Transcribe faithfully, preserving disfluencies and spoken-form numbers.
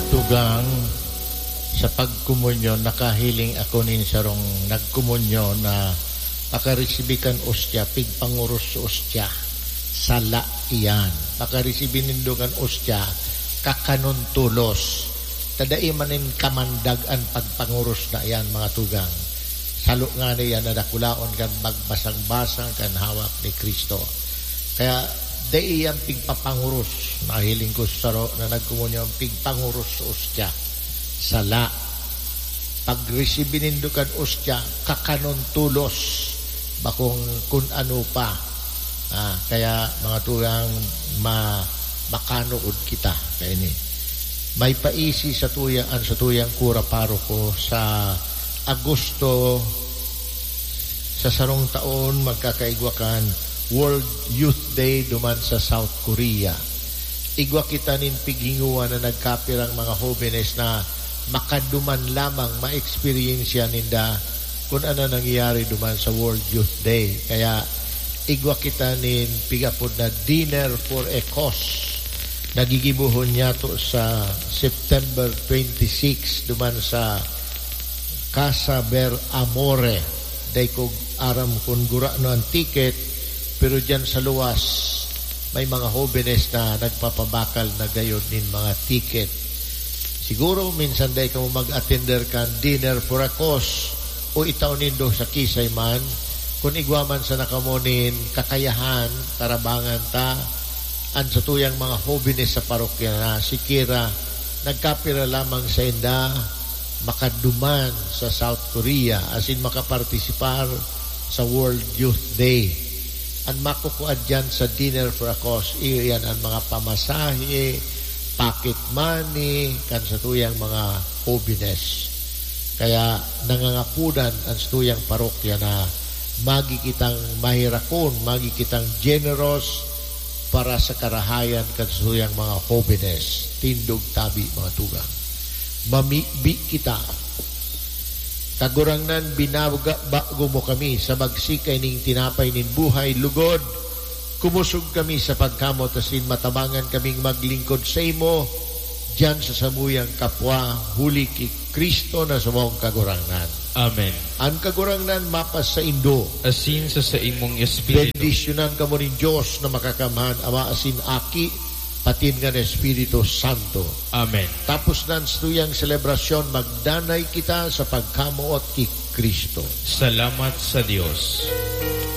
Tugang, sa pagkomunyon, nakahiling ako nin sarong nagkomunyon na pakaresibi kan ostya, pigpanguros sa ostya. Sala iyan. Pakaresibi nindo kan ostya, kakanon tolos. Ta dai man nin kamandag an pagpanguros na iyan, mga tugang. Salo ngani iyan na dakulaon kan bagbasang-basang kan hawak ni Cristo. Kaya, dai iyan pigpapanguros. Nahiling ko sa saro na nagkomunyon, pigpanguros sa ostya. Sala. Pagresibi nindo kan ostya, kakanon tolos, bakong kun ano pa. Ah, kaya, mga tugang, ma-, makanood kita kaini. May paisi sa tuya, an sa tuyang kura paroko sa Agosto, sa sarong taon, magkakaigwa kan World Youth Day duman sa South Korea. Igwa kita nin pighingowa na nagkapirang mga hobenes na makaduman lamang ma-eksperyensya ninda kun ano nangyayari duman sa World Youth Day. Kaya igwa kita nin pigapod na Dinner for a Cause. Nagigibohon niya to sa September twenty-six duman sa Casa Ber Amore. Dai ko aram kun gurano an ticket, pero diyan sa luwas, may mga hobenes na nagpapabakal na gayod nin mga ticket. Siguro, minsan dai kamo mag-atender kan Dinner for a Cause o itao nindo sa kisay man, kun igwa man sana kamo nin kakayahan, tarabangan ta an satuyang mga hobenes sa parokya na sikiera nagkapira lamang sainda makaduman sa South Korea asin makapartisipar sa World Youth Day. An makukua diyan sa Dinner for a Cause, iyo iyan an mga pamasahe, pocket money, kan satuyang mga hobenes. Kaya nangangapodan an satuyang parokya na magi kitang maherakon, magi kitang generous para sa karahayan kan satuyang mga hobenes. Tindog tabi, mga tugang. Mamibi kita. Kagurangnan, binabago mo kami sa magsikay ning tinapay nin buhay, lugod, kumosog kami sa pagkamot asin matabangan kaming maglingkod saimo diyan sa samuyang kapwa, huli ki Cristo na samong Kagurangnan. Amen. An Kagurangnan mapasaindo. Asin sa saimong espiritu. Bendisyonan kamo nin Dios na Makakamhan, Ama asin Aki, patin kan Espiritu Santo. Amen. Tapos nan satuyang selebrasyon, magdanay kita sa pagkamoot ki Cristo. Salamat sa Dios.